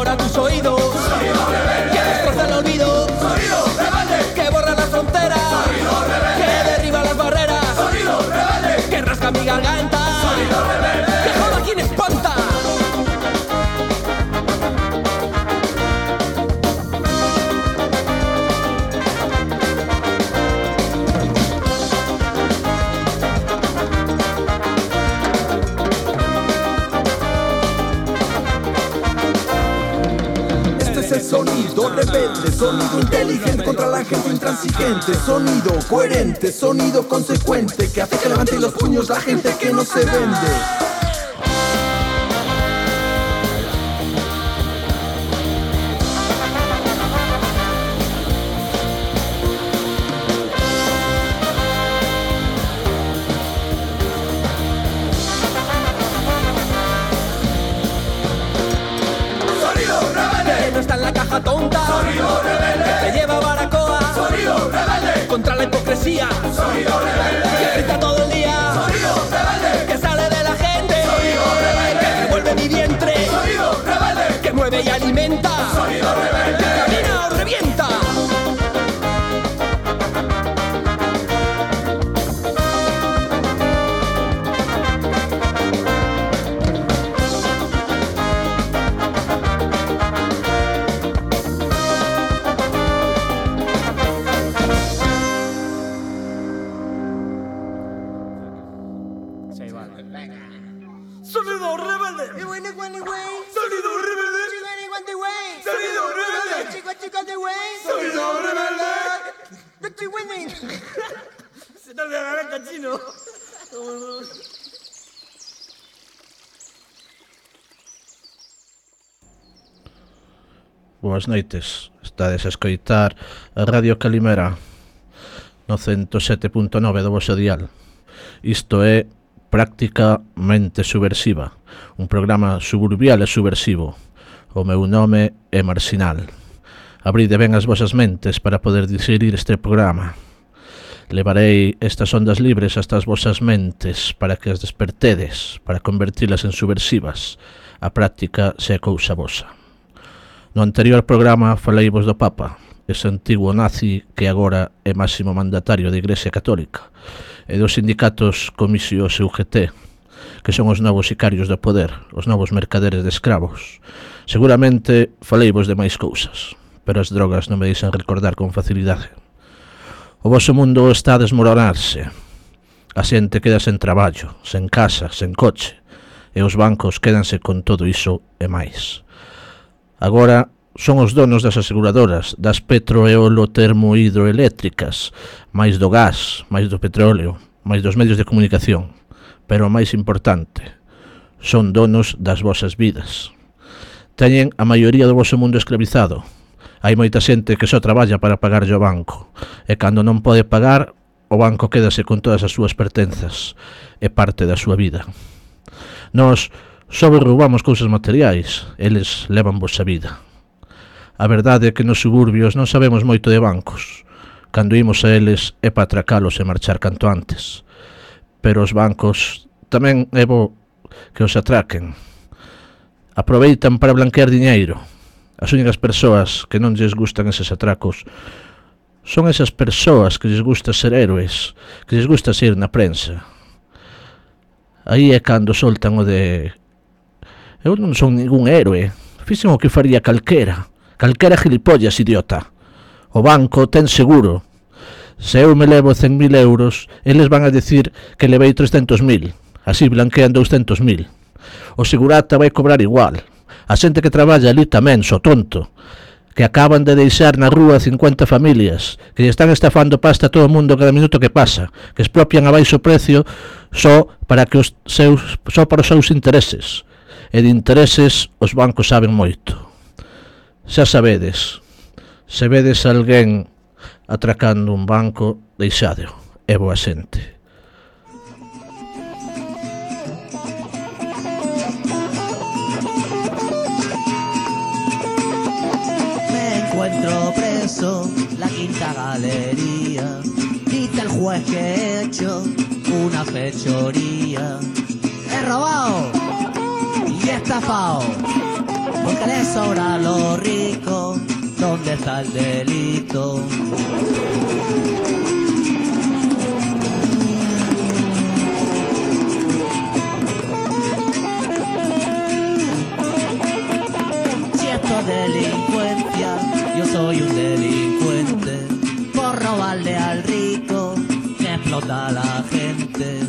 devora tus oídos. Sonido rebelde. Que destroza el olvido. Sonido rebelde. Que borra las fronteras. Sonido rebelde. Que derriba las barreras. Sonido rebelde. Que rasca mi garganta. Sonido rebelde. Que joda a quien espanta. Sonido rebelde, sonido inteligente contra la gente intransigente. Sonido coherente, sonido consecuente, que hace que levante los puños la gente que no se vende. Tonta, sonido rebelde, que te lleva a Baracoa, sonido rebelde, contra la hipocresía, sonido rebelde, que grita todo el día, sonido rebelde, que sale de la gente, sonido rebelde, que revuelve mi vientre, sonido rebelde, que mueve y alimenta, sonido rebelde, que camina o revienta. Boas noites, estades a escoitar a Radio Calimera no 107.9 do vosso dial. Isto é Prácticamente Subversiva, un programa suburbial e subversivo. O meu nome é Marcinal. Abride ben as vosas mentes para poder digerir este programa. Levarei estas ondas libres hasta as vosas mentes para que as despertedes, para convertilas en subversivas. A práctica se é cousa vosa. No anterior programa faleivos do Papa, ese antigo nazi que agora é máximo mandatario da Igrexa Católica, e dos sindicatos Comisios e UGT, que son os novos sicarios do poder, os novos mercaderes de escravos. Seguramente faleivos de máis cousas, pero as drogas non me deixan recordar con facilidade. O voso mundo está a desmoronarse. A xente queda sen traballo, sen casa, sen coche, e os bancos quédanse con todo iso e máis. Agora son os donos das aseguradoras, das petroeolo-termohidroeléctricas, máis do gas, máis do petróleo, máis dos medios de comunicación. Pero o máis importante, son donos das vosas vidas. Teñen a maioría do voso mundo esclavizado. Hai moita xente que só traballa para pagarlle ao banco, e cando non pode pagar, o banco quédase con todas as súas pertenzas, e parte da súa vida. Nós só roubamos cousas materiais, eles levan vosa vida. A verdade é que nos suburbios non sabemos moito de bancos. Cando imos a eles é para atracalos e marchar canto antes. Pero os bancos tamén é bo que os atraquen. Aproveitan para blanquear diñeiro. As únicas persoas que non lles gustan eses atracos son esas persoas que lles gusta ser héroes, que lles gusta ser na prensa. Aí é cando soltan o de... Eu non son ningún héroe, fixen o que faría calquera gilipollas, idiota. O banco ten seguro. Se eu me levo 100.000 euros, eles van a decir que levei 300.000, así blanquean 200.000. O segurata vai cobrar igual. A xente que traballa ali tamén, so tonto, que acaban de deixar na rúa 50 familias, que lle están estafando pasta a todo o mundo cada minuto que pasa, que expropian a baixo precio só para os seus intereses. E de intereses os bancos saben moito. Xa sabedes, se vedes alguén atracando un banco, deixádeo, é boa xente. Me encuentro preso, la quinta galería, dice el juez que he hecho una fechoría. He robado y he estafado. porque le sobra a los ricos. ¿Dónde está el delito? Si esto es delincuencia, yo soy un delincuente por robarle al rico que explota a la gente.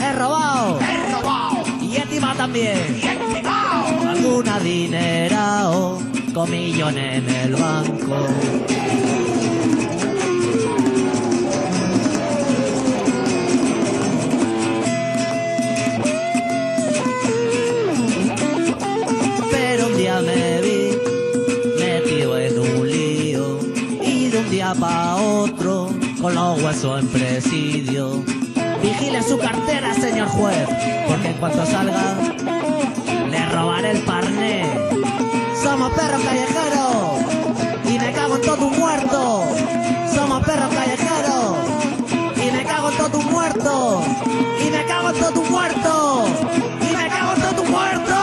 ¡He robado! ¡He robado! Y encima también. ¡Y encima! Algún adinerao con millones en el banco. Pero un día me vi metido en un lío y de un día pa' otro con los huesos en presidio. Vigile su cartera, señor juez, porque en cuanto salga le robaré el parné. Somos perros callejeros y me cago en todo tu muerto. Somos perros callejeros y me cago en todo tu muerto. Y me cago en todo tu muerto. Y me cago en todo tu muerto.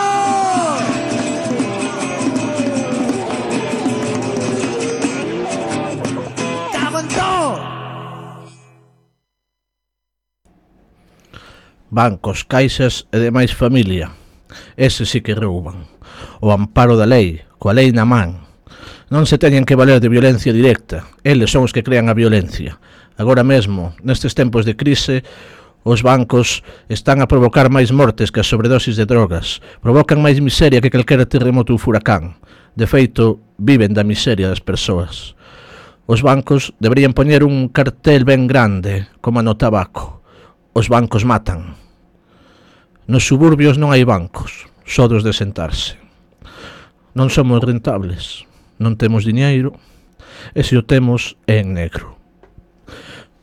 Cago en todo. Bancos, caixas e demais familia. Ese sí que rouban. O amparo da lei, coa lei na man. Non se teñen que valer de violencia directa. Eles son os que crean a violencia. Agora mesmo, nestes tempos de crise, os bancos están a provocar máis mortes que as sobredosis de drogas. Provocan máis miseria que calquera terremoto ou furacán. De feito, viven da miseria das persoas. Os bancos deberían poñer un cartel ben grande, como no tabaco. Os bancos matan. Nos suburbios non hai bancos, só dos de sentarse. Non somos rentables, non temos diñeiro, e se o temos é en negro.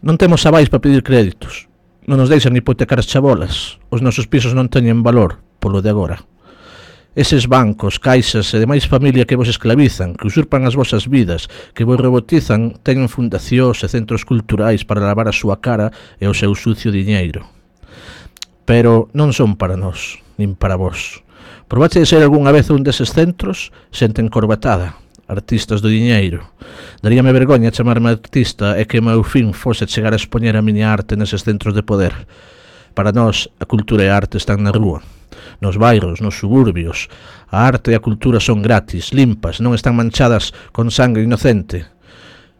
Non temos avais para pedir créditos, non nos deixan hipotecar as chabolas, os nosos pisos non teñen valor polo de agora. Eses bancos, caixas e demais familia que vos esclavizan, que usurpan as vosas vidas, que vos robotizan, teñen fundacións e centros culturais para lavar a súa cara e o seu sucio diñeiro. Pero non son para nós, nin para vos. Probaste de ser algunha vez un deses centros? Xente encorbatada, artistas do diñeiro. Daríame vergoña chamarme artista e que o meu fin fose chegar a expoñer a miña arte neses centros de poder. Para nós, a cultura e a arte están na rúa, nos bairros, nos suburbios. A arte e a cultura son gratis, limpas, non están manchadas con sangue inocente.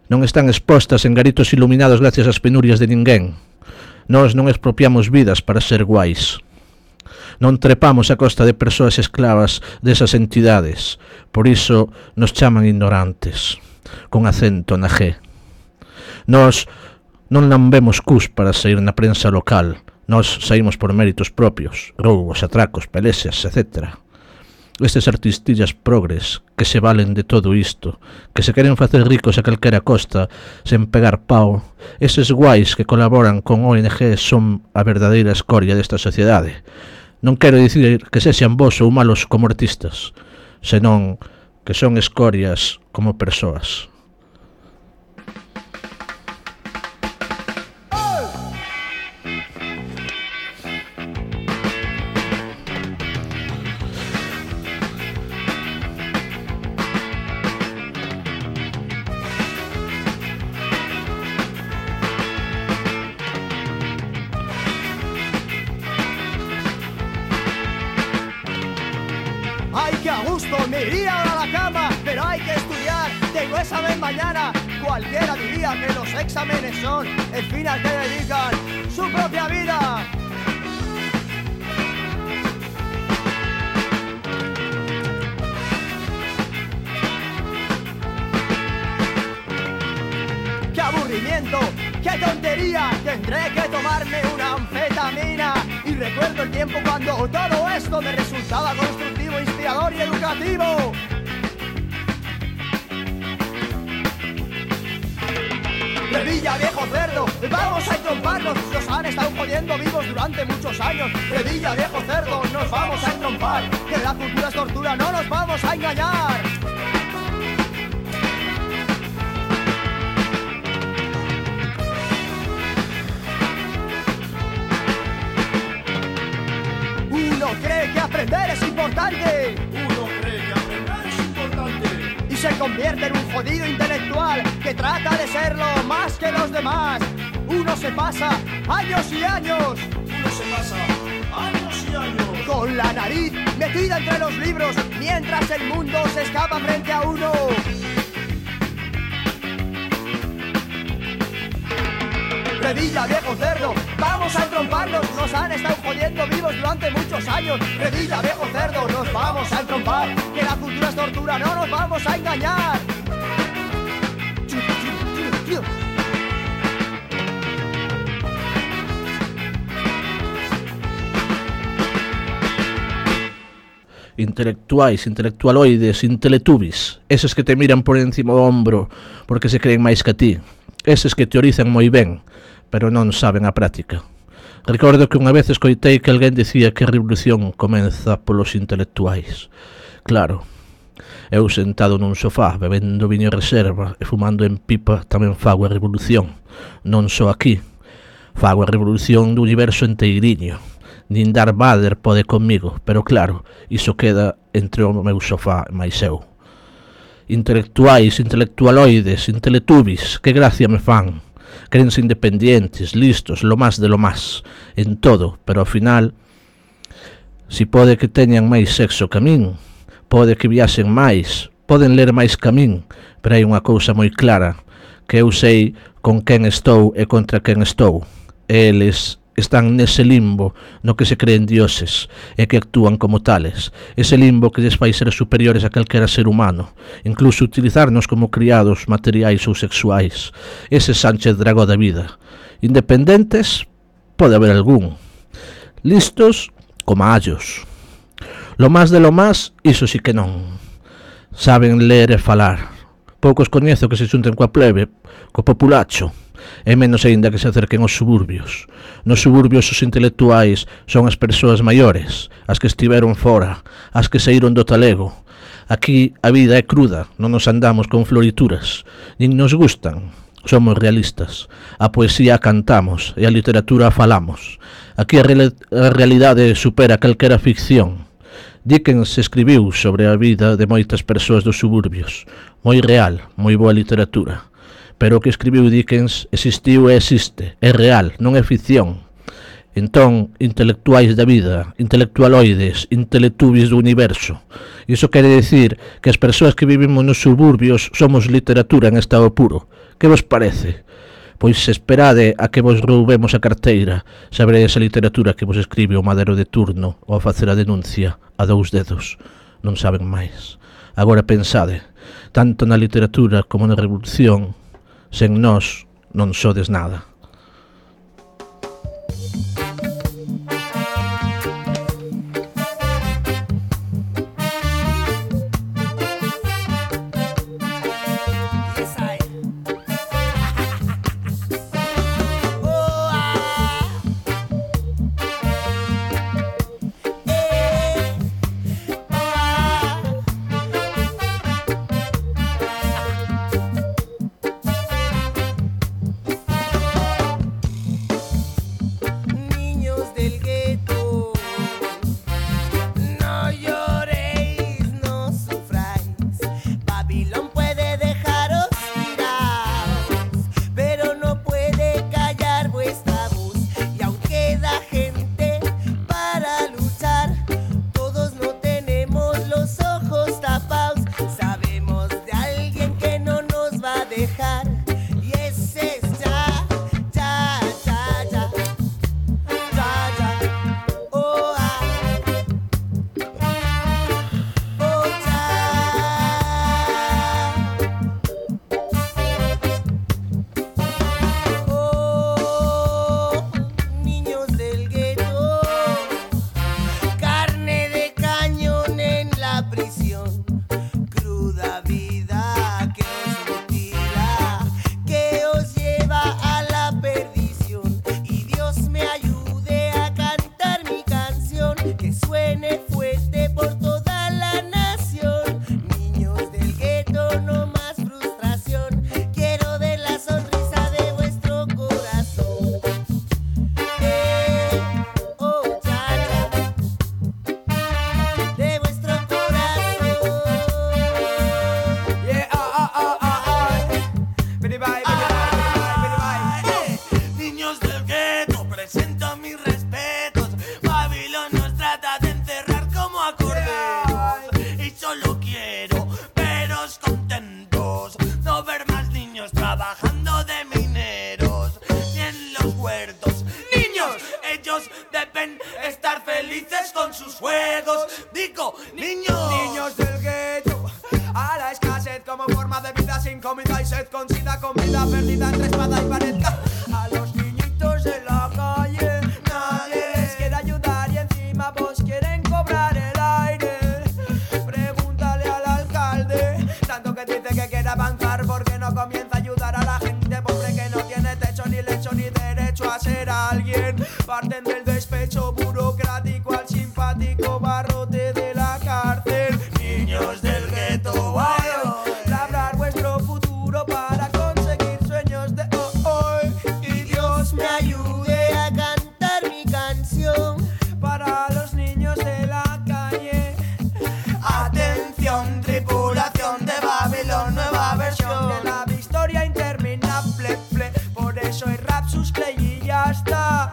Non están expostas en garitos iluminados gracias ás penurias de ninguén. Nós non expropiamos vidas para ser guais. Non trepamos a costa de persoas esclavas desas entidades. Por iso nos chaman ignorantes, con acento na G. Nós non lambemos cus para sair na prensa local. Nós saímos por méritos propios, roubos, atracos, pelexas, etc. Estes artistillas progres que se valen de todo isto, que se queren facer ricos a calquera costa sen pegar pau, eses guais que colaboran con ONG son a verdadeira escoria desta sociedade. Non quero dicir que sexan bons ou malos como artistas, senón que son escorias como persoas. ¡Ay, qué a gusto! Me iría ahora a la cama, pero hay que estudiar. Tengo examen mañana. Cualquiera diría que los exámenes son el fin al que dedican su propia vida. ¡Qué aburrimiento! ¡Qué tontería! Tendré que tomarme una anfetamina. Y recuerdo el tiempo cuando todo esto me resultaba constructivo, inspirador y educativo. Revilla, viejo cerdo, vamos a entromparnos. Nos han estado jodiendo vivos durante muchos años. Revilla, viejo cerdo, nos vamos a entrompar. Que la cultura es tortura, no nos vamos a engañar. Uno cree que aprender es importante. Uno cree que aprender convierte en un jodido intelectual que trata de serlo más que los demás. Uno se pasa años y años. Uno se pasa años y años con la nariz metida entre los libros mientras el mundo se escapa frente a uno. Revilla, viejo cerdo, vamos a entromparnos. Nos han estado jodiendo vivos durante muchos años. Revilla, viejo cerdo, nos vamos a entrompar. Que la cultura es tortura, no nos vamos a engañar. Intelectuais, intelectualoides, inteletubis, eses que te miran por encima do ombro porque se creen máis que a ti, eses que teorizan moi ben, pero non saben a práctica. Recordo que unha vez escoitei que alguén dicía que a revolución comeza polos intelectuais. Claro, eu sentado nun sofá, bebendo viño reserva e fumando en pipa tamén fago a revolución. Non só aquí, fago a revolución do universo enteiriño. Nin Darth Vader pode comigo, pero claro, iso queda entre o meu sofá e máis eu. Intelectuais, intelectualoides, inteletubis, que gracia me fan. Crense independientes, listos, lo más de lo más, en todo, pero ao final, si pode que teñan máis sexo que a min, pode que viaxen máis, poden ler máis que a min, pero hai unha cousa moi clara, que eu sei con quen estou e contra quen estou. Eles están nese limbo no que se creen dioses e que actúan como tales, ese limbo que lles fai ser superiores a calquera ser humano, incluso utilizarnos como criados materiais ou sexuais, ese Sánchez Dragó da vida. Independentes, pode haber algún, listos como allos. Lo más de lo más, iso sí que non. Saben ler e falar. Poucos coñezo que se xunten coa plebe, co populacho, e menos aínda que se acerquen aos suburbios. Nos suburbios os intelectuais son as persoas maiores, as que estiveron fora, as que saíron do talego. Aquí a vida é cruda, non nos andamos con florituras, nin nos gustan, somos realistas. A poesía a cantamos e a literatura a falamos. Aquí a realidade supera calquera ficción. Dickens escribiu sobre a vida de moitas persoas dos suburbios, moi real, moi boa literatura. Pero o que escribiu Dickens existiu e existe, é real, non é ficción. Entón, intelectuais da vida, intelectualoides, inteletubis do universo. Iso quere dicir que as persoas que vivimos nos suburbios somos literatura en estado puro. Que vos parece? Pois esperade a que vos roubemos a carteira, sabredes a literatura que vos escribe o madero de turno ou a facer a denuncia a 2 dedos. Non saben máis. Agora pensade, tanto na literatura como na revolución, sen nós non sodes nada. trabajando de mineros y en los huertos. Niños, ellos deben estar felices con sus juegos. Digo, niños del gueto, a la escasez como forma de vida, sin comida y sed, con sida, con vida perdida entre espada y pared. A los niñitos de la calle nadie les quiere ayudar y encima vos quieren cobrar el aire. Pregúntale al alcalde, tanto que dice que quiere avanzar, porque no comienza a ayudar a la gente pobre que no tiene techo ni lecho ni derecho a ser alguien. Parten del despecho burocrático al simpático barrote de la cárcel. Niños del gueto, labrar vuestro futuro para conseguir sueños de hoy. Y Dios me ayude a cantar mi canción para los niños de la calle. Atención, tripulación de Babilón, nueva versión de la historia interminable. Por eso hay rap, sus play y ya está.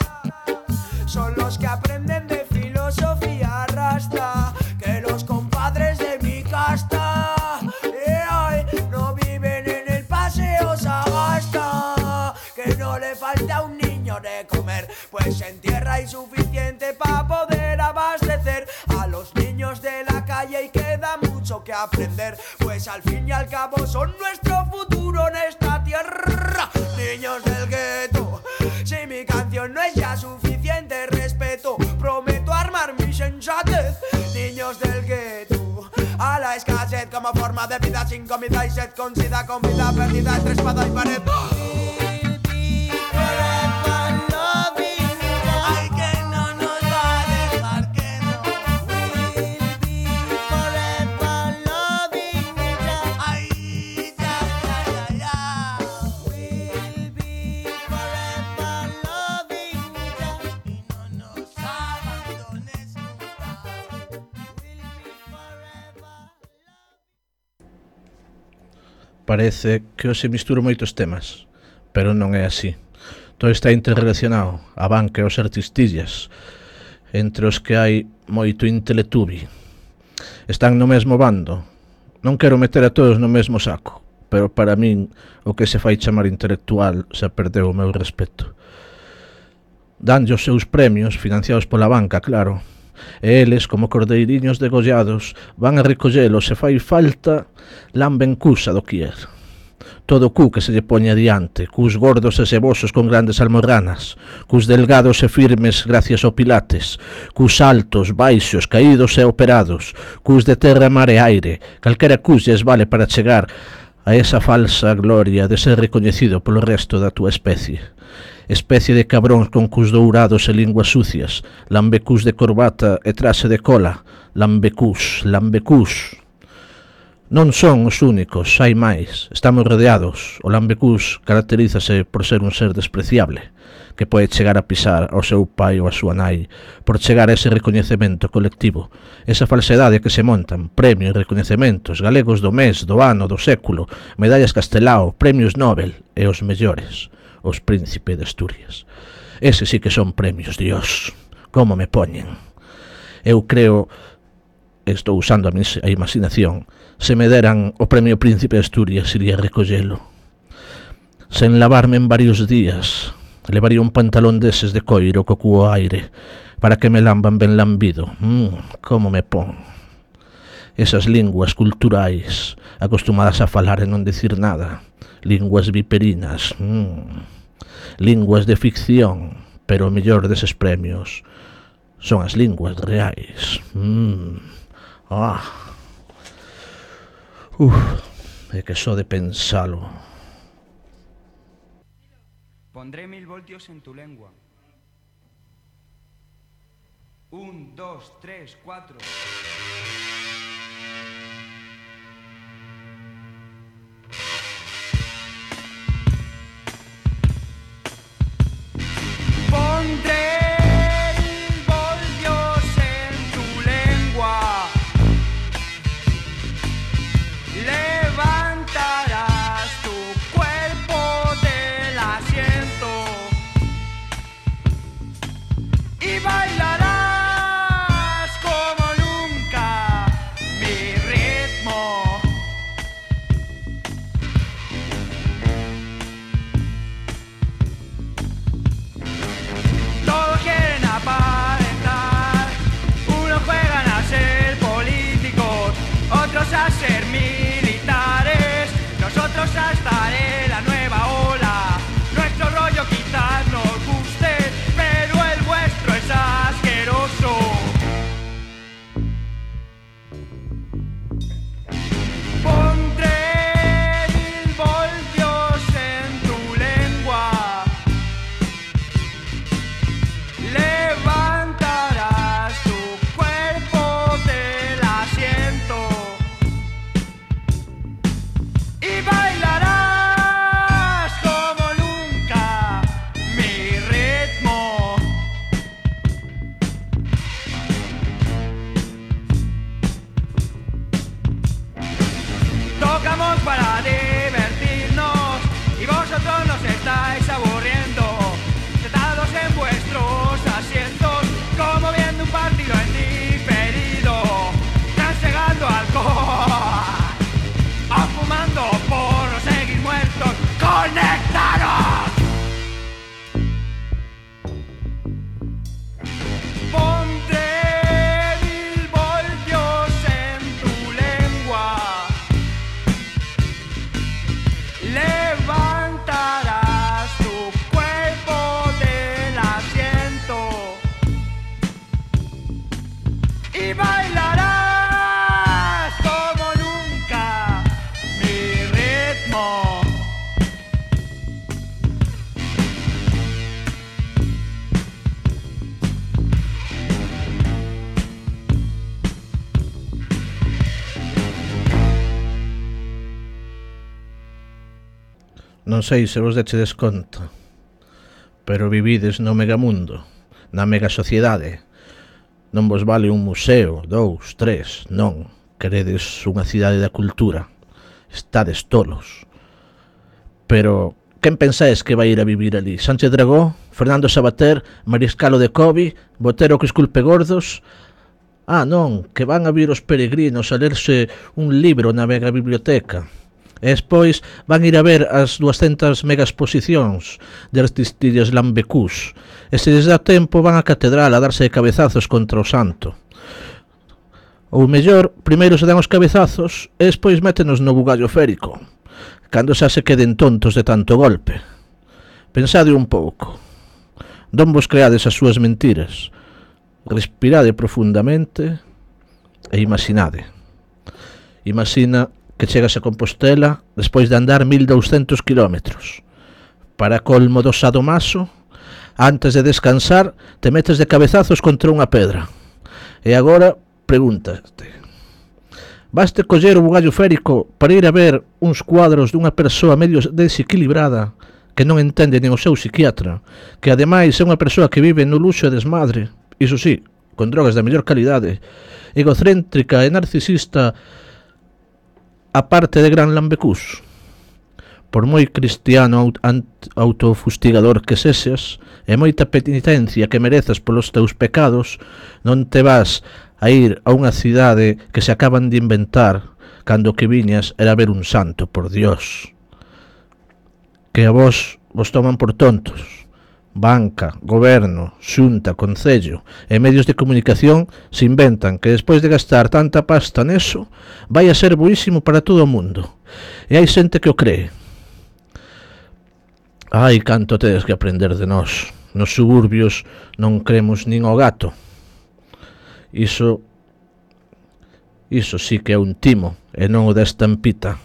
Son los que aprenden de filosofía rasta, que los compadres de mi casta no viven en el paseo Sagasta. Que no le falta a un niño de comer, pues en tierra hay suficiente para poder abastecer a los niños de la calle, y queda mucho que aprender, pues al fin y al cabo son nuestro futuro en esta tierra. Niños del gueto, si mi canción no es ya suficiente respeto, prometo armar mi sensatez. Niños del gueto, a la escasez como forma de vida, sin comida y sed, con sida, con vida perdida entre espada y pared. Ay, que no nos va a dejar, que no. Ay, ya. Y no nos abandones nunca. Parece que hoxe misturo moitos temas, pero non é así. Todo está interrelacionado, a banca e os artistillas, entre os que hai moito inteletubi. Están no mesmo bando. Non quero meter a todos no mesmo saco, pero para min o que se fai chamar intelectual xa perdeu o meu respeto. Danlle os seus premios, financiados pola banca, claro, e eles, como cordeiriños degollados, van a recollelos se fai falta, lamben cus a doquier. Todo cu que se lle poña diante, cus gordos e sebosos con grandes almorranas, cus delgados e firmes gracias ao pilates, cus altos, baixos, caídos e operados, cus de terra, mar e aire, calquera cus lles vale para chegar a esa falsa gloria de ser recoñecido polo resto da túa especie. Especie de cabróns con cus dourados e linguas sucias, lambecús de corbata e traxe de cola, lambecús. Non son os únicos, hai máis, estamos rodeados. O lambecús caracterízase por ser un ser despreciable, que pode chegar a pisar ao seu pai ou a súa nai, por chegar a ese recoñecemento colectivo, esa falsedade que se montan, premios, recoñecementos, galegos do mes, do ano, do século, medallas Castelao, premios Nobel e os mellores, os Príncipe de Asturias. Ese sí que son premios, Dios, como me poñen. Eu creo, estou usando a imaginación, se me deran o premio Príncipe de Asturias iría recollelo. Sen lavarme en varios días, levaría un pantalón deses de coiro co cuo aire, para que me lamban ben lambido. Como me pon. Esas linguas culturais, acostumadas a falar e non dicir nada, linguas viperinas, linguas de ficción, pero o mellor deses premios son as linguas reais. É que só de pensalo. Pondré 1000 voltios en tu lengua. 1, 2, 3, 4. Pondré voltios en tu lengua. Levantarás tu cuerpo del asiento y bailarás como nunca Non sei se vos dechedes conta, pero vivides no megamundo, na mega sociedade. Non vos vale un museo, 2, 3, non. Queredes unha cidade da cultura. Estades tolos. Pero quen pensáis que vai ir a vivir ali? Sánchez Dragó, Fernando Sabater, Mariscalo de Cobi, Botero que esculpe gordos? Ah, non, que van a vir os peregrinos a lerse un libro na mega biblioteca. E despois van ir a ver as 200 megaexposicións de Aristides Lambecús. E se les dá tempo van á catedral a darse de cabezazos contra o santo. Ou mellor, primeiro se dan os cabezazos e despois métenos no bugallo férico, cando xa se queden tontos de tanto golpe. Pensade un pouco. Non vos creades as súas mentiras. Respirade profundamente e imaginade. Imagina que chegas a Compostela despois de andar 1200 kilómetros. Para colmo do sadomaso, antes de descansar, te metes de cabezazos contra unha pedra. E agora, pregúntate, baste coller o bugallo férico para ir a ver uns cuadros dunha persoa medio desequilibrada que non entende nin o seu psiquiatra, que ademais é unha persoa que vive no luxo e desmadre, iso sí, con drogas da mellor calidade, egocéntrica e narcisista, a parte de gran lambecús. Por moi cristiano autofustigador que sexas e moita penitencia que merezas polos teus pecados, non te vas a ir a unha cidade que se acaban de inventar cando que viñas era ver un santo, por Dios. Que a vos toman por tontos. Banca, goberno, xunta, concello e medios de comunicación se inventan que despois de gastar tanta pasta neso vai a ser boísimo para todo o mundo. E hai xente que o cree. Ai, canto tedes que aprender de nós. Nos suburbios non cremos nin ao gato. Iso sí que é un timo e non o da estampita.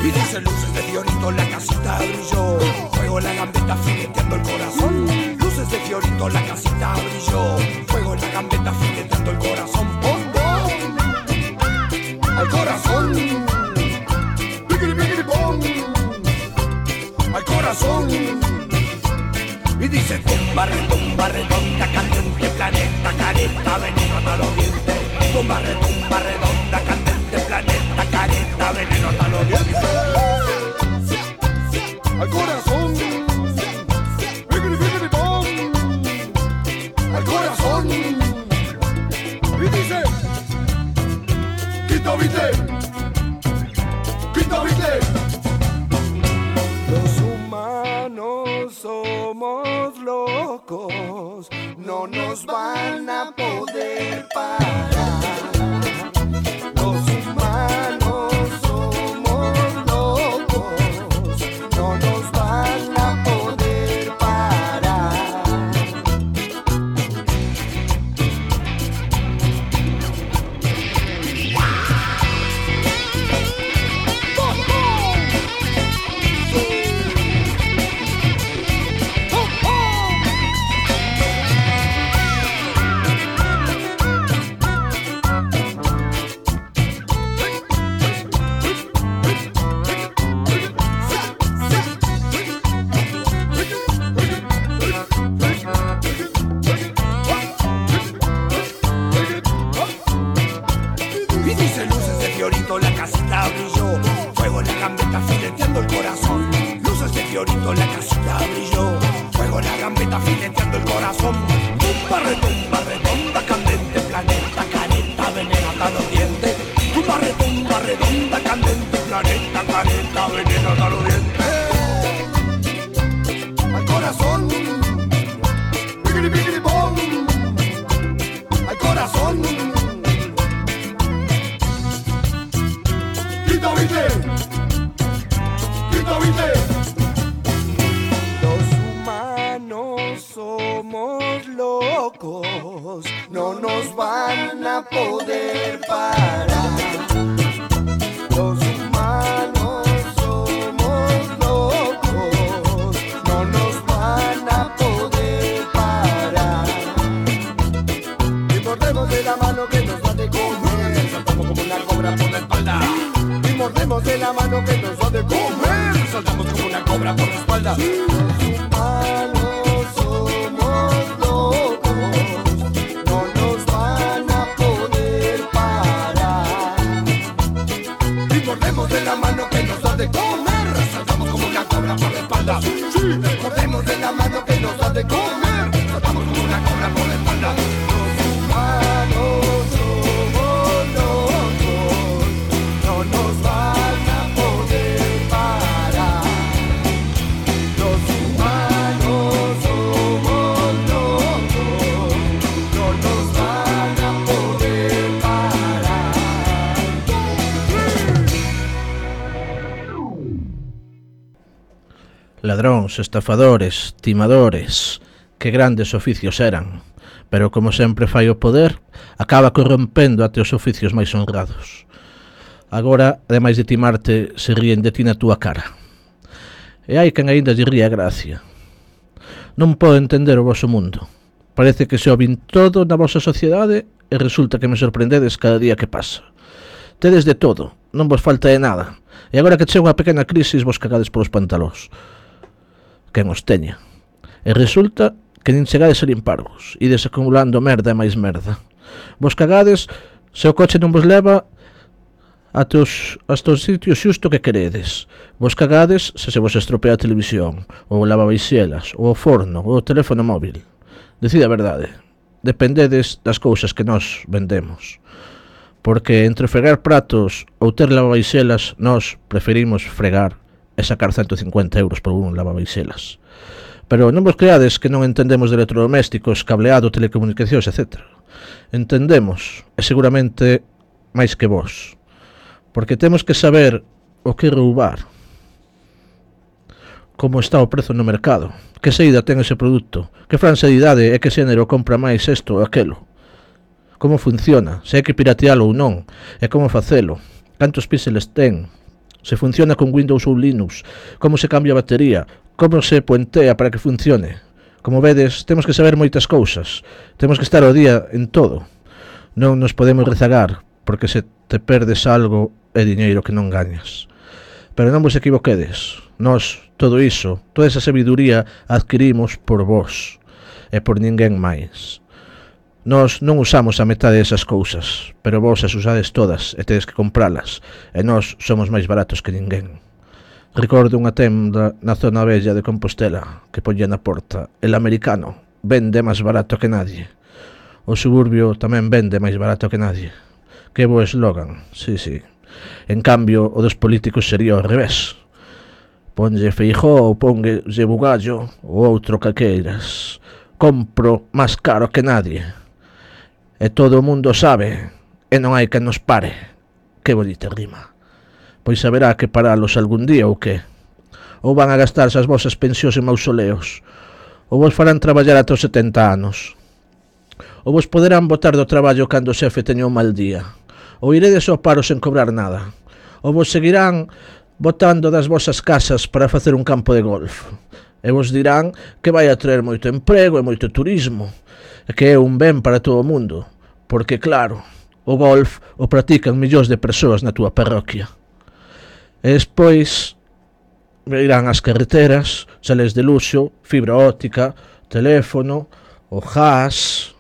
Y dice luces de Fiorito, la casita brilló. Fuego en la gambeta fileteando el corazón. Luces de Fiorito, la casita brilló. Fuego en la gambeta fileteando el corazón. ¡Pom, pom! ¡Al corazón! ¡Piquiri, piquiri, pom! ¡Al corazón! Y dice tumba, redonda, candente, planeta, careta, veneno hasta los dientes. Tumba, redonda, candente, planeta, careta, veneno hasta los dientes. Al corazón, piquiri, piquiri, pom. Al corazón. Y dice, quita, viste, quita, viste. Los humanos somos locos, no nos van a poder parar. Los humanos somos locos, no nos van a poder parar. Y dice luces de Fiorito, la casita brilló. Fuego en la gambeta fileteando el corazón. Luces de Fiorito, la casita brilló. Fuego en la gambeta fileteando el corazón. Tumba, redonda, candente, planeta, careta, veneno hasta los dientes. Tumba, redonda, candente, planeta, careta, veneno hasta los dientes. Al corazón. Piquiri, piquiri, pom. Al corazón. Quita, viste. Quita, viste. poder parar. Los humanos somos locos, no nos van a poder parar. Y mordemos de la mano que nos da de comer, saltamos como una cobra por la espalda. Y mordemos de la mano que nos da de comer, saltamos como una cobra por la espalda. Los humanos somos locos, no nos van a poder parar. Y mordemos de la mano que nos da de comer, saltamos como una cobra por la espalda. Sí, mordemos de la mano que nos da de comer, saltamos como una cobra por la espalda. Los humanos somos locos, no nos van a poder parar. Los humanos somos locos, no nos van a poder parar. Ladróns, estafadores, timadores, que grandes oficios eran, pero como sempre fai o poder, acaba corrompendo até os oficios máis honrados. Agora, ademais de timarte, se ríen de ti na túa cara. E hai quen aínda lle ríe a gracia. Non podo entender o voso mundo. Parece que se o vin todo na vosa sociedade e resulta que me sorprendedes cada día que pasa. Tedes de todo, non vos falta de nada. E agora que chega unha pequena crisis vos cagades polos pantalóns. Quen os teña. E resulta que nin chegades a limparvos, ides acumulando merda e máis merda. Vos cagades se o coche non vos leva hasta os sitios xusto que queredes. Vos cagades se vos estropea a televisión, ou o lavabaixelas, ou o forno, ou o teléfono móvil. Decide a verdade. Dependedes das cousas que nós vendemos. Porque entre fregar pratos ou ter lavabaixelas, nós preferimos fregar e sacar 150 euros por un lavabaixelas. Pero non vos creades que non entendemos de electrodomésticos, cableado, telecomunicacións, etc. Entendemos, e seguramente máis que vos. Porque temos que saber o que roubar, como está o prezo no mercado, que saída ten ese produto, que franxa de idade e que xénero compra máis isto ou aquelo, como funciona, se hai que piratealo ou non, e como facelo, cantos píxeles ten, se funciona con Windows ou Linux, como se cambia a batería, como se puentea para que funcione. Como vedes, temos que saber moitas cousas, temos que estar ao día en todo. Non nos podemos rezagar, porque se te perdes algo é diñeiro que non gañas. Pero non vos equivoquedes, nós, todo iso, toda esa sabiduría adquirimos por vos, e por ninguén máis. Nós non usamos a metade desas cousas, pero vos as usades todas e tedes que compralas, e nós somos máis baratos que ninguén. Recordo unha tenda na zona bella de Compostela que poñía na porta: el americano vende máis barato que nadie. O suburbio tamén vende máis barato que nadie. Que bo eslogan, sí. En cambio, o dos políticos sería ao revés. Ponlle Feijóo ou ponlle Bugallo ou outro que queiras. Compro máis caro que nadie. E todo o mundo sabe, e non hai que nos pare. Que bonita rima. Pois haberá que paralos algún día ou que? Ou van a gastarse as vosas pensións en mausoleos? Ou vos farán traballar ata os 70 anos? Ou vos poderán botar do traballo cando o xefe teña un mal día? Ou iredes ao paro sen cobrar nada? Ou vos seguirán botando das vosas casas para facer un campo de golf? E vos dirán que vai a traer moito emprego e moito turismo, e que é un ben para todo o mundo, porque claro, o golf o practican millóns de persoas na túa parroquia. E despois irán as carreteras, sales de luxo, fibra óptica, teléfono, o gas.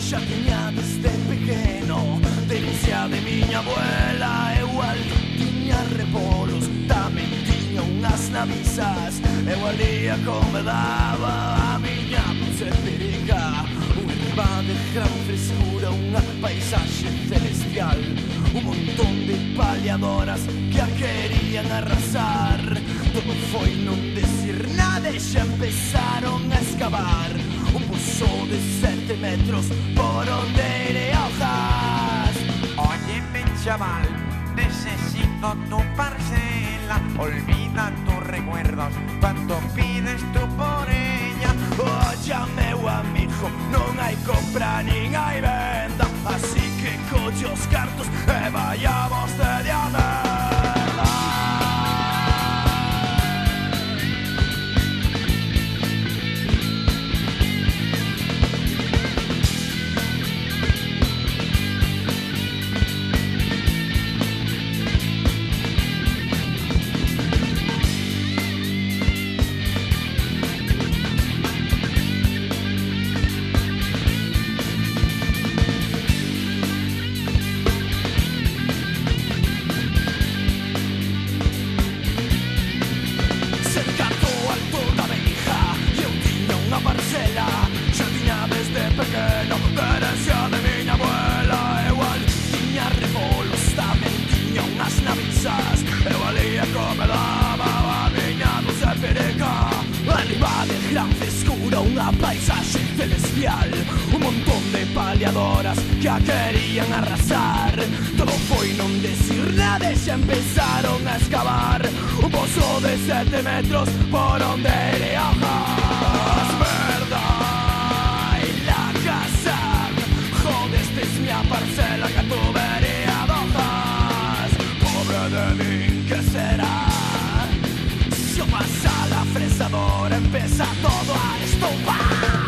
Xa tiña desde pequeno denuncia de miña abuela. Eu alto tiña repolos, tamén tiña unhas navisas. Eu alía como daba a miña perica. Unha riba de gran frescura, unha paisaxe celestial. Un montón de paliadoras que a querían arrasar. Todo foi non decir nada e xa empezaron a excavar un pozo de 7 metros por onde iré a hojar. chaval, necesito tu parcela. Olvida tus recuerdos cuando pides tú por ella. Oye, meu amigo, non hai compra nin hai venda, así que colle os cartos e vayamos de diamante. Paisaje celestial, un montón de paliadoras que a querían arrasar. Todo foi non decir nada e xa empezaron a excavar un pozo de 7 metros por onde iré a hojas. Verdad y la casa, joder, esta es mi parcela que tu vería hojas. Pobre de mí, ¿qué será? Si pasa la fresadora, empieza todo a estupar.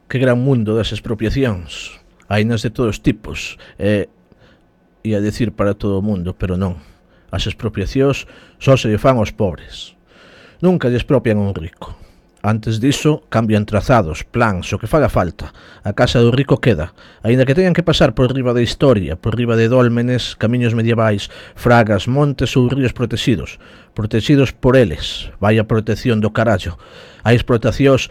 Que gran mundo das expropiacións. Hainas de todos tipos, e a decir para todo o mundo, pero non. As expropiacións só se lle fan aos pobres. Nunca lle expropian a un rico. Antes diso, cambian trazados, plans, o que faga falta. A casa do rico queda, aínda que teñan que pasar por riba da historia, por riba de dólmenes, camiños medievais, fragas, montes ou ríos protegidos por eles. Vai a protección do carallo. Hai explotacións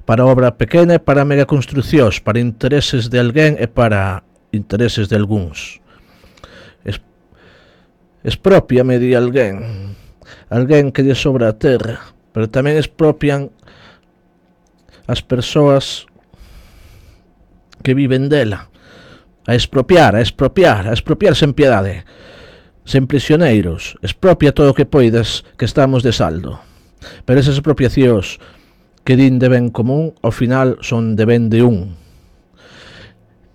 para obra pequena e para megaconstruccións, para intereses de alguén e para intereses de algúns. Expropiame di alguén que lle sobra a terra, pero tamén expropian as persoas que viven dela. A expropiar sen piedade, sen prisioneiros. Expropia todo o que poidas, que estamos de saldo. Pero esas expropiacións que din de ben común, ao final son de ben de un.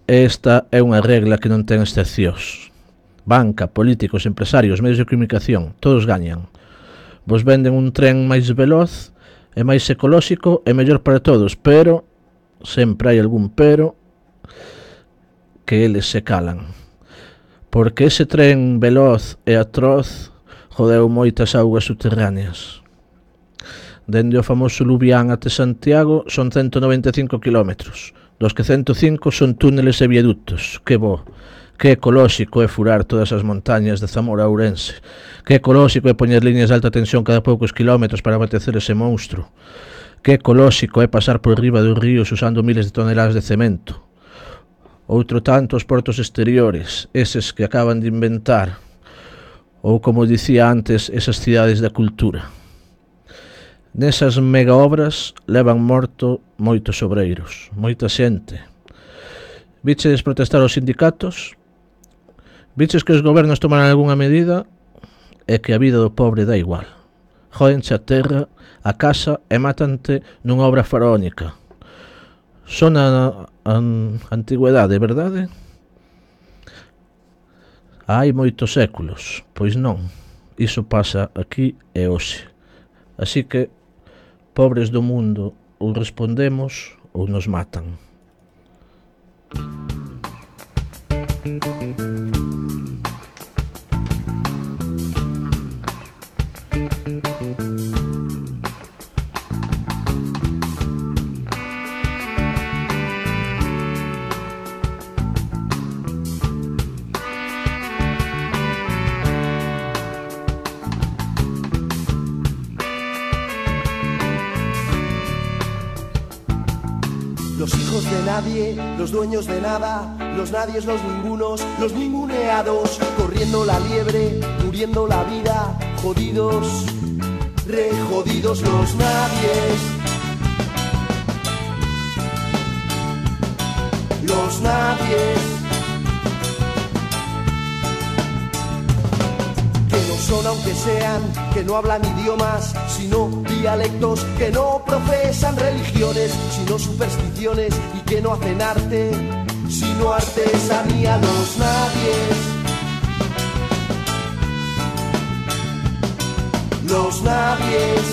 Esta é unha regla que non ten excepcións. Banca, políticos, empresarios, medios de comunicación, todos gañan. Vos venden un tren máis veloz e máis ecolóxico e mellor para todos, pero sempre hai algún pero que eles se calan. Porque ese tren veloz e atroz jodeu moitas augas subterráneas. Dende o famoso Lubián até Santiago son 195 kilómetros, dos que 105 son túneles e viaductos. Que bo, que ecolóxico é furar todas as montañas de Zamora a Ourense. Que ecolóxico é poñer líneas de alta tensión cada poucos kilómetros para abatecer ese monstro. Que ecolóxico é pasar por riba dos ríos usando miles de toneladas de cemento. Outro tanto os portos exteriores, eses que acaban de inventar, ou como dicía antes, esas cidades da cultura. Nesas mega obras levan morto moitos obreiros, moita xente. Viches protestar os sindicatos? Viches que os gobernos tomaran algunha medida? É que a vida do pobre dá igual. Jódenche a terra, a casa e mátante nunha obra faraónica. Son a antigüedade, verdade? Hai moitos séculos, pois non. Iso pasa aquí e hoxe. Así que, pobres do mundo, ou respondemos ou nos matan. Los hijos de nadie, los dueños de nada, los nadies, los ningunos, los ninguneados, corriendo la liebre, muriendo la vida, jodidos, re jodidos los nadies. Los nadies. Son aunque sean, que no hablan idiomas, sino dialectos, que no profesan religiones, sino supersticiones, y que no hacen arte, sino artesanía. Los nadies. Los nadies.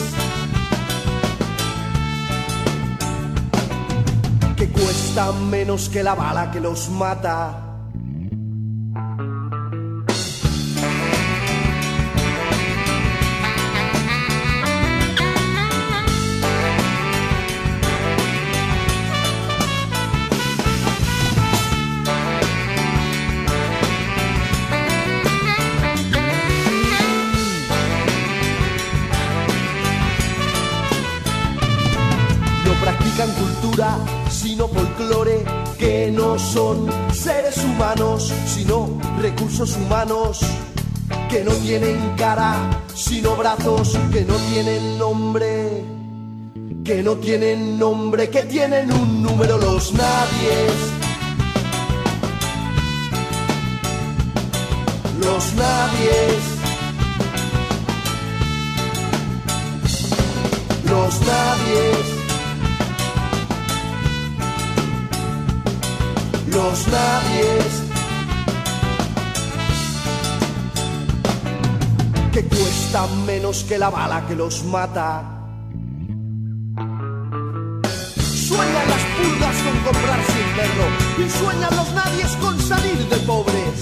Que cuestan menos que la bala que los mata. Cultura, sino folclore, que no son seres humanos, sino recursos humanos, que no tienen cara, sino brazos, que no tienen nombre, que no tienen nombre, que tienen un número. Los nadies. Los nadies. Los nadies. Los nadies. Que cuestan menos que la bala que los mata. Sueñan las pulgas con comprarse un perro y sueñan los nadies con salir de pobres.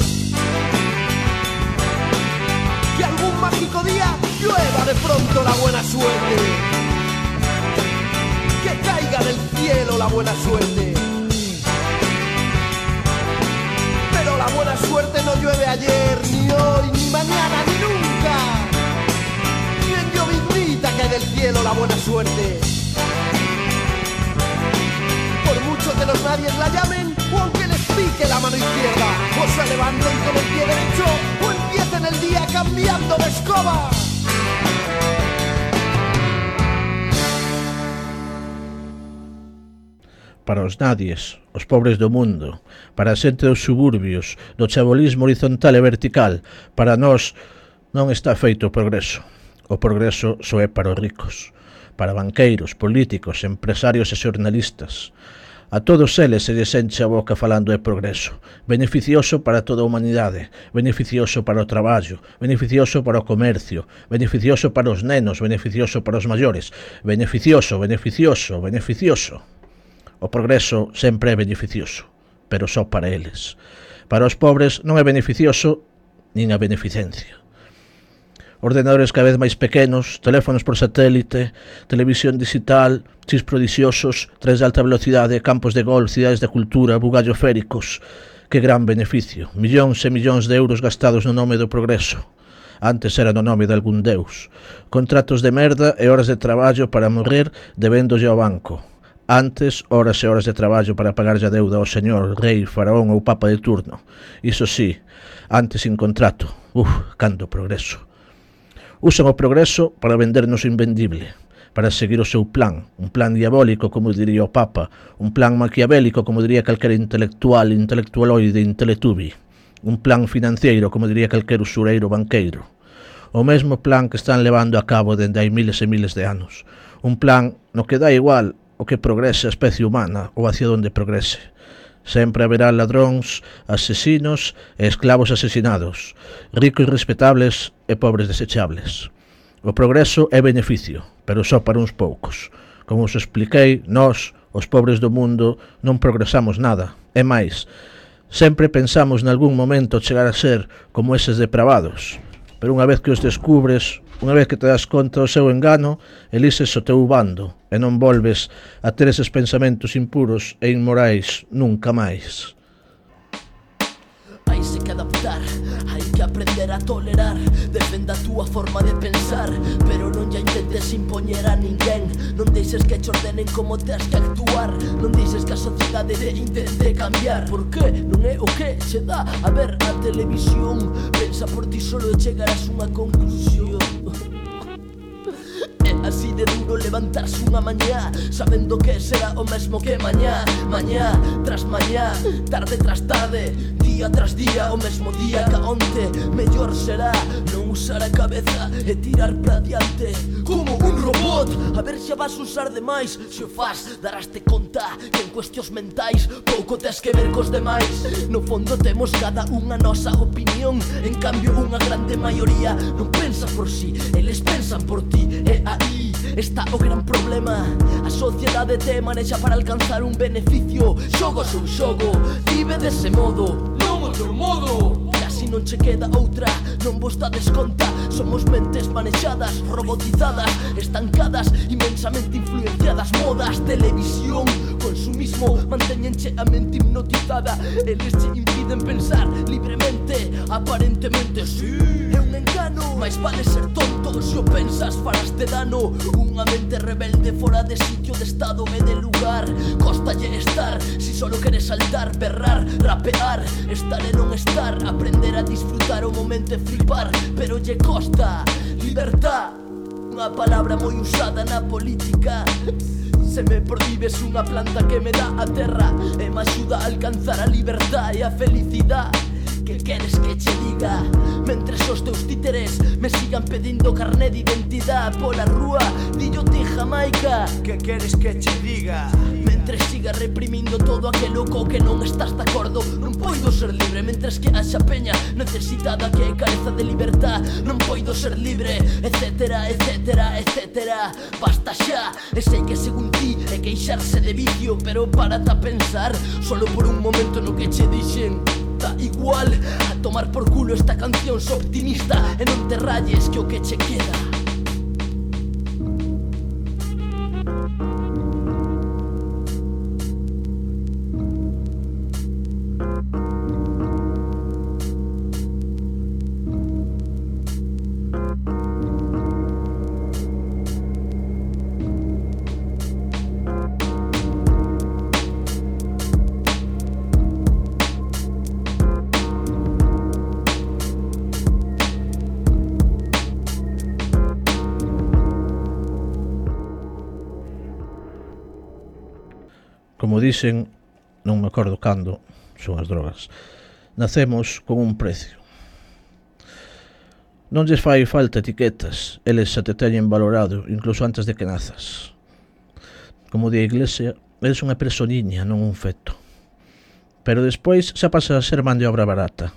Que algún mágico día llueva de pronto la buena suerte. Que caiga del cielo la buena suerte. La buena suerte no llueve ayer, ni hoy, ni mañana, ni nunca. Ni en lloviznita cae del cielo la buena suerte. Por mucho que los nadies la llamen, o aunque les pique la mano izquierda, o se levanten con el pie derecho, o empiecen el día cambiando de escoba. Para os nadies, os pobres do mundo, para a xente dos suburbios, do chabolismo horizontal e vertical, para nós non está feito o progreso. O progreso só é para os ricos, para banqueiros, políticos, empresarios e xornalistas. A todos eles se lles enche a boca falando de progreso, beneficioso para toda a humanidade, beneficioso para o traballo, beneficioso para o comercio, beneficioso para os nenos, beneficioso para os maiores, beneficioso, beneficioso, beneficioso. O progreso sempre é beneficioso, pero só para eles. Para os pobres non é beneficioso nin a beneficencia. Ordenadores cada vez máis pequenos, teléfonos por satélite, televisión digital, chips prodixiosos, trens de alta velocidade, campos de gol, cidades de cultura, bugallo féricos. Que gran beneficio. Millóns e millóns de euros gastados no nome do progreso. Antes era no nome de algún deus. Contratos de merda e horas de traballo para morrer debéndolle ao banco. Antes, horas e horas de traballo para pagarlle a deuda ao señor, rei, faraón ou papa de turno. Iso sí, antes sin contrato. Canto progreso. Usan o progreso para vendernos o invendible, para seguir o seu plan, un plan diabólico, como diría o Papa, un plan maquiavélico, como diría calquera intelectualoide, intelectubi, un plan financiero, como diría calquer usureiro banqueiro. O mesmo plan que están levando a cabo dende hai miles e miles de anos. Un plan no que dá igual o que progrese a especie humana ou hacia onde progrese. Sempre haberá ladróns, asesinos e esclavos asesinados, ricos respetables e pobres desechables. O progreso é beneficio, pero só para uns poucos. Como os expliquei, nós, os pobres do mundo, non progresamos nada. É máis, sempre pensamos nalgún momento chegar a ser como eses depravados, pero unha vez que os descubres, unha vez que te das conta do seu engano, elises o teu bando e non volves a ter eses pensamentos impuros e inmorais nunca máis. Hai que adaptar, hai que aprender a tolerar. Defenda a túa forma de pensar, pero non ya intentes impoñer a ninguén. Non deixes que te ordenen como tens que actuar. Non deixes que a sociedade te intente cambiar. Por que? Non é o que se dá a ver a televisión. Pensa por ti solo e chegarás unha conclusión. É así de duro levantarse unha mañá sabendo que será o mesmo que mañá. Mañá tras mañá, tarde tras tarde, día tras día, o mesmo día que onte. Mellor será non usar a cabeza e tirar pra diante como un robot. A ver se vas usar demais. Se o faz, daraste conta que en cuestións mentais pouco tes que ver cos demais. No fondo temos cada unha nosa opinión, en cambio unha grande maioría non pensa por si, eles pensan por ti. E aí está o gran problema. A sociedade te manexa para alcanzar un beneficio. Xogo son xogo, vive dese modo, non outro modo. E así non che queda outra, non vos dades conta. Somos mentes manexadas, robotizadas, estancadas, inmensamente influenciadas. Modas, televisión, consumismo, mantéñenche a mente hipnotizada. Eles che impiden pensar libremente, aparentemente sí, é un engano. Mais vale ser tonto, se o pensas faraste dano. Unha mente rebelde fora de sitio, de estado e de lugar. Cóstalle estar, si solo queres saltar, berrar, rapear. Estar e non estar, aprender a disfrutar o momento e flipar. Pero lle costa, libertad, unha palabra moi usada na política. Se me prohibes unha planta que me dá a terra e me axuda a alcanzar a libertad e a felicidad. Que queres que che diga? Mentres os teus títeres me sigan pedindo carné de identidade pola rúa, dillo ti Jamaica. Que queres que che diga? Mentres siga reprimindo todo aquelo co que non estás de acordo, non poido ser libre. Mentres que haxa peña necesitada que careza de libertad, non poido ser libre, etcétera, etcétera, etcétera. Basta xa, e sei que según ti é queixarse de vicio, pero párate a pensar solo por un momento no que che dixen. Da igual a tomar por culo esta canción, so optimista e non te rayes que o que che queda. Como dicen, non me acordo cando, son as drogas, nacemos con un precio. Non lles fai falta etiquetas, eles xa te teñen valorado, incluso antes de que nazas. Como di a Iglesia, eres unha personiña, non un feto. Pero despois xa pasa a ser man de obra barata.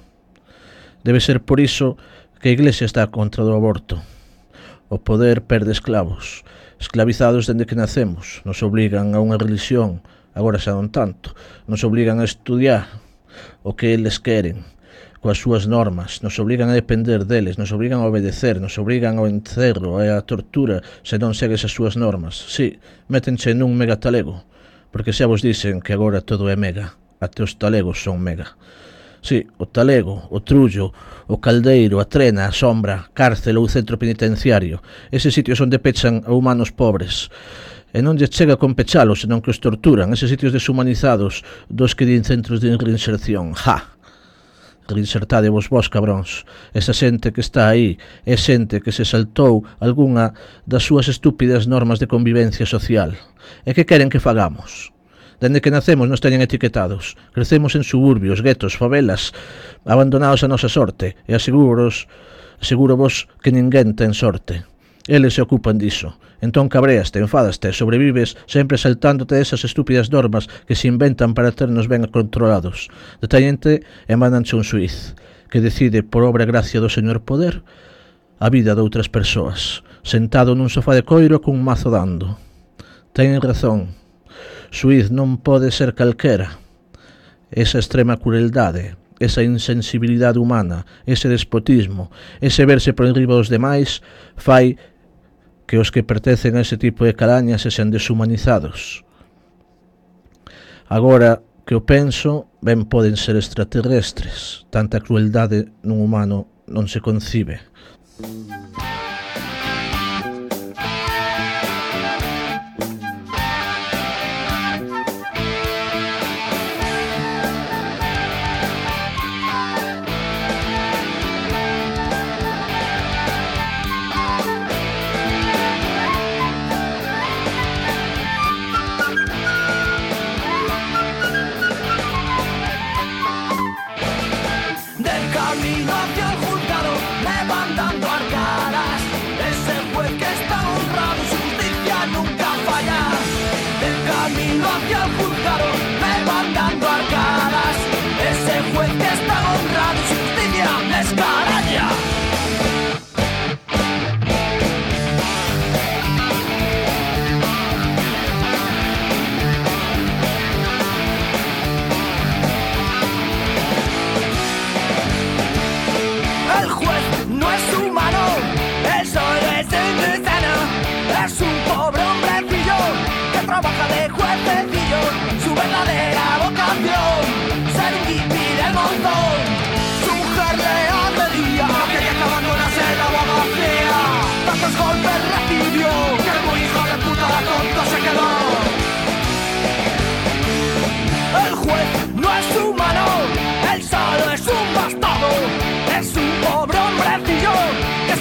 Debe ser por iso que a Iglesia está contra do aborto. O poder perde esclavos, esclavizados dende que nacemos, nos obligan a unha religión. Agora xa non tanto, nos obligan a estudiar o que eles queren, coas súas normas, nos obligan a depender deles, nos obligan a obedecer, nos obligan ao encerro e a tortura se non segues as súas normas. Sí, métenche nun mega talego, porque xa vos dicen que agora todo é mega, até os talegos son mega. Sí, o Talego, o Trullo, o Caldeiro, a Trena, a Sombra, cárcel ou centro penitenciario. Eses sitios onde pechan a humanos pobres. E non lle chega con pechalos, senón que os torturan. Eses sitios deshumanizados dos que din centros de reinserción. ¡Ja! Reinsertade vos cabróns. Esa xente que está aí é xente que se saltou algunha das súas estúpidas normas de convivencia social. E que queren que fagamos? Dende que nacemos nos teñen etiquetados. Crecemos en suburbios, guetos, favelas, abandonados a nosa sorte. E asegurovos que ninguén ten sorte. Eles se ocupan diso. Entón cabreaste, enfadaste, sobrevives sempre saltándote esas estúpidas normas que se inventan para ternos ben controlados. Detallente e mandanche un xuiz que decide, por obra e gracia do señor poder, a vida de outras persoas, sentado nun sofá de coiro cun mazo dando. Teñen razón. Xuiz non pode ser calquera. Esa extrema crueldade, esa insensibilidade humana, ese despotismo, ese verse por enriba dos demais, fai que os que pertencen a ese tipo de calañas se sean deshumanizados. Agora que o penso, ben poden ser extraterrestres. Tanta crueldade nun humano non se concibe.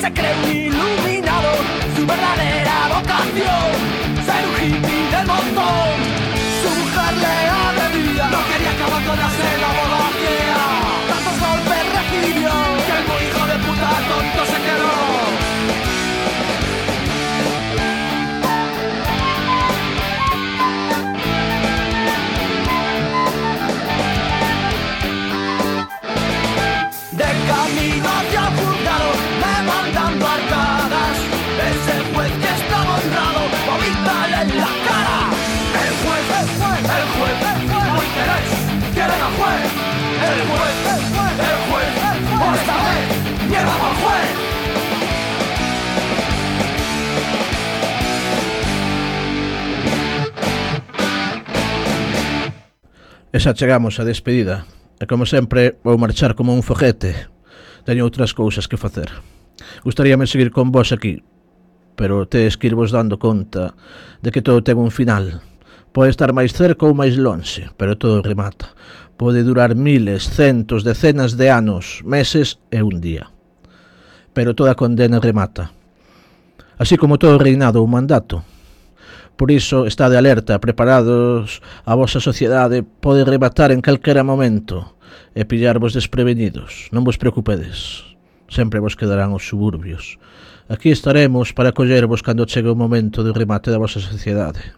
Se cree un iluminado, su verdadera vocación, ser un hippie del montón. Su mujer le agredía, no quería que abandonase la boda ciega. Tantos golpes recibió, que el muy hijo de puta tonto se quedó. De camino hacia el juzgado, mandando arcadas, ese juez que estaba honrado, vomítale en la cara. El juez, hoy quieren al juez. El juez, esta vez, mierda al juez. E xa chegamos a despedida. E como sempre, vou marchar como un foguete. Teño outras cousas que facer. Gustaríame seguir con vos aquí, pero tedes que irvos dando conta de que todo ten un final. Pode estar máis cerca ou máis lonxe, pero todo remata. Pode durar miles, centos, decenas de anos, meses e un día. Pero toda condena remata. Así como todo reinado ou mandato. Por iso, estade alerta, preparados, a vosa sociedade pode rematar en calquera momento e pillarvos desprevenidos. Non vos preocupedes. Sempre vos quedarán os suburbios. Aquí estaremos para acollervos cando chegue o momento de remate da vosa sociedade.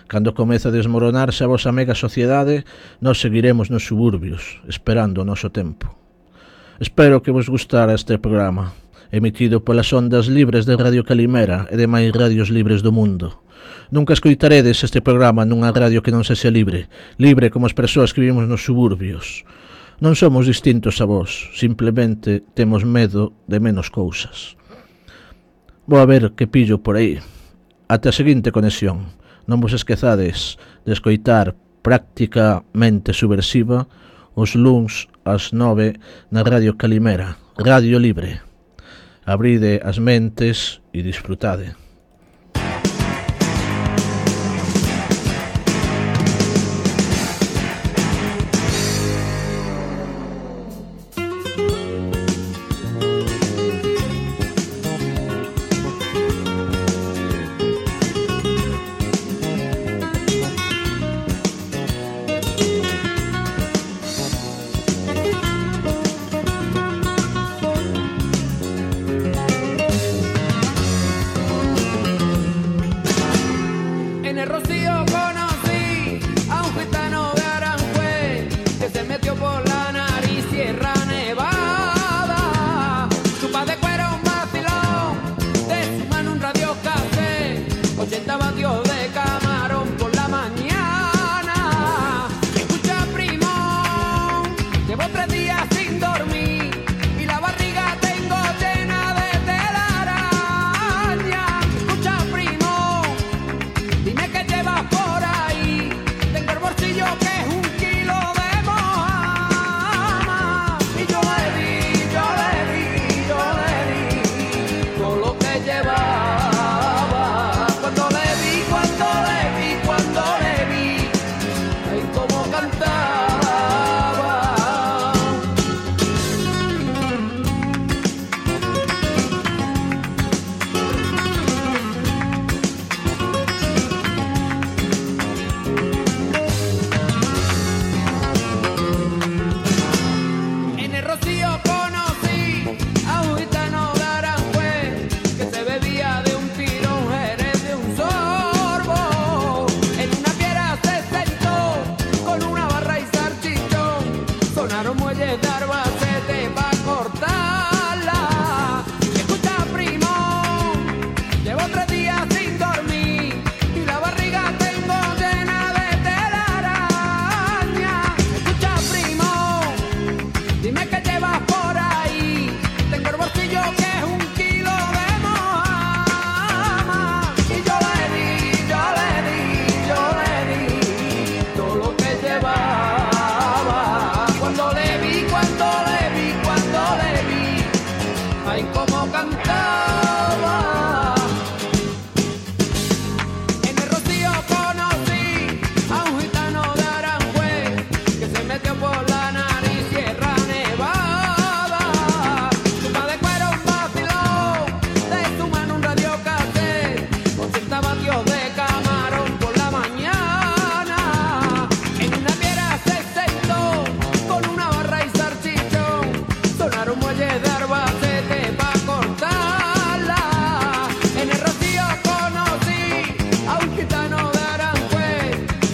Cando comece a desmoronarse a vosa mega sociedade, nós seguiremos nos suburbios, esperando o noso tempo. Espero que vos gustara este programa, emitido polas ondas libres de Radio Calimera e demais radios libres do mundo. Nunca escoitaredes este programa nunha radio que non sexa libre, libre como as persoas que vivimos nos suburbios. Non somos distintos a vos, simplemente temos medo de menos cousas. Vou a ver que pillo por aí. Ate a seguinte conexión. Non vos esquezades de escoitar Prácticamente Subversiva, os luns ás 9 na Radio Calimera, Radio Libre. Abride as mentes e disfrutade.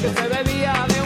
Se bebía de